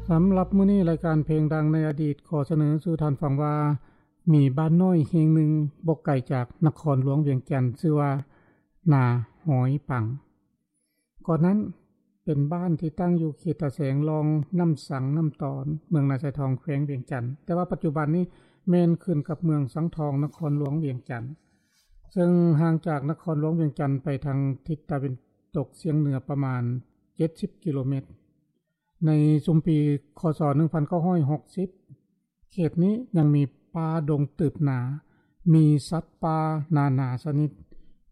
ສຳລັບມື້ນີ້ ລາຍການເພງດັງໃນອະດີດ ຂໍສະເໜີສູ່ທ່ານຟັງວ່າ ມີບ້ານນ້ອຍແຫ່ງໜຶ່ງ ບໍ່ໄກຈາກນະຄອນຫຼວງວຽງຈັນ ຊື່ວ່າ ນາຫອຍປັງ. ກ່ອນນັ້ນເປັນບ້ານທີ່ຕັ້ງຢູ່ເຂດຕາແສງ ລອງນ້ຳສັງນ້ຳຕອນ ເມືອງນາຊາຍທອງ ແຂວງວຽງຈັນ, ແຕ່ວ່າປັດຈຸບັນນີ້ແມ່ນຂຶ້ນກັບເມືອງສັງທອງ ນະຄອນຫຼວງວຽງຈັນ, ເຊິ່ງຫ່າງຈາກນະຄອນຫຼວງວຽງຈັນໄປທາງທິດຕາເວັນຕົກສຽງເໜືອປະມານເຈັດສິບກິໂລແມັດ. ໃນຊຸມປີ ຄ.ສ. ໜຶ່ງພັນເກົ້າຮ້ອຍຫົກສິບ ເຂດນີ້ຍັງມີປ່າດົງຕຶບໜາ, ມີສັດປ່ານານາຊະນິດ,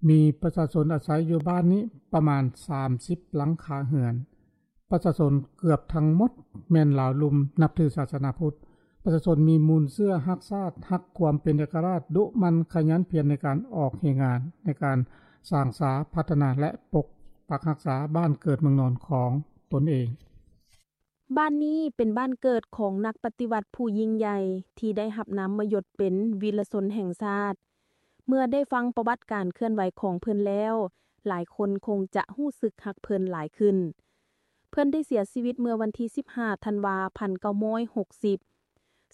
ມີປະຊາຊົນອາໄສຢູ່ບ້ານນີ້ປະມານສາມສິບຫຼັງຄາເຮືອນ. ປະຊາຊົນເກືອບທັງໝົດແມ່ນລາວລຸ່ມ ນັບຖືສາສະໜາພຸດ. ປະຊາຊົນມີມູນເຊື້ອຮັກຊາດ, ຮັກຄວາມເປັນເອກະລາດ, ດຸໝັ່ນຂະຫຍັນພຽນໃນການອອກແຮງງານ, ໃນການສ້າງສາ, ພັດທະນາ ແລະ ປົກປັກຮັກສາບ້ານເກີດເມືອງນອນຂອງຕົນເອງ. ບ້ານນີ້ເປັນບ້ານເກີດຂອງນັກປະຕິວັດຜູ້ຍິ່ງໃຫຍ່ ທີ່ໄດ້ຮັບນາມມະຍົດເປັນວີລະຊົນແຫ່ງຊາດ. ເມື່ອໄດ້ຟັງປະຫວັດການເຄື່ອນໄຫວຂອງເພິ່ນແລ້ວ, ຫຼາຍຄົນຄົງຈະຮູ້ສຶກຮັກເພິ່ນຫຼາຍຂຶ້ນ. ເພິ່ນໄດ້ເສຍຊີວິດເມື່ອວັນທີສິບຫ້າ ທັນວາ ພັນເກົ້າຮ້ອຍຫົກສິບ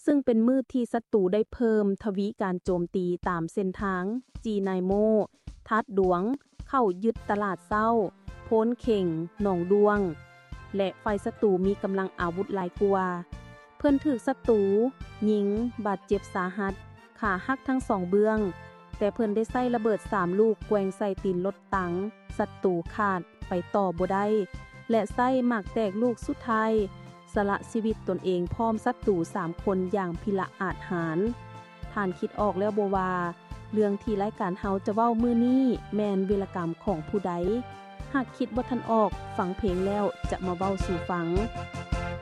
ຊຶ່ງເປັນມື້ທີ່ສັດຕູໄດ້ເພີ່ມທະວີການໂຈມຕີຕາມເສັ້ນທາງ ຈີນາຍໂມ, ທາດດວງ, ເຂົ້າຍຶດຕະຫຼາດເຊົ້າ, ໂພນເຂັງ, ໜອງດ້ວງ ແລະ ຝ່າຍສັດຕູມີກຳລັງອາວຸດຫຼາຍກວ່າ. ເພິ່ນຖືກສັດຕູຍິງບາດເຈັບສາຫັດ, ຂາຫັກທັງສອງເບື້ອງ, ແຕ່ເພິ່ນໄດ້ໃຊ້ລະເບີດສາມລູກແກວ່ງໃສ່ຕີນລົດຕັງສັດຕູຂາດໄປຕໍ່ບໍ່ໄດ້ ແລະ ໃຊ້ໝາກແຕກລູກສຸດທ້າຍ ສະລະຊີວິດຕົນເອງພ້ອມສັດຕູສາມຄົນຢ່າງພິລະອາດຫານ. ທ່ານຄິດອອກແລ້ວບໍ່ວ່າ ເລື່ອງທີ່ລາຍການເຮົາຈະເວົ້າມື້ນີ້ແມ່ນວິລະກຳຂອງຜູ້ໃດ? ຫາກຄິດບໍ່ທັນອອກ, ຟັງເພງແລ້ວຈະມາເວົ້າສູ່ຟັງ.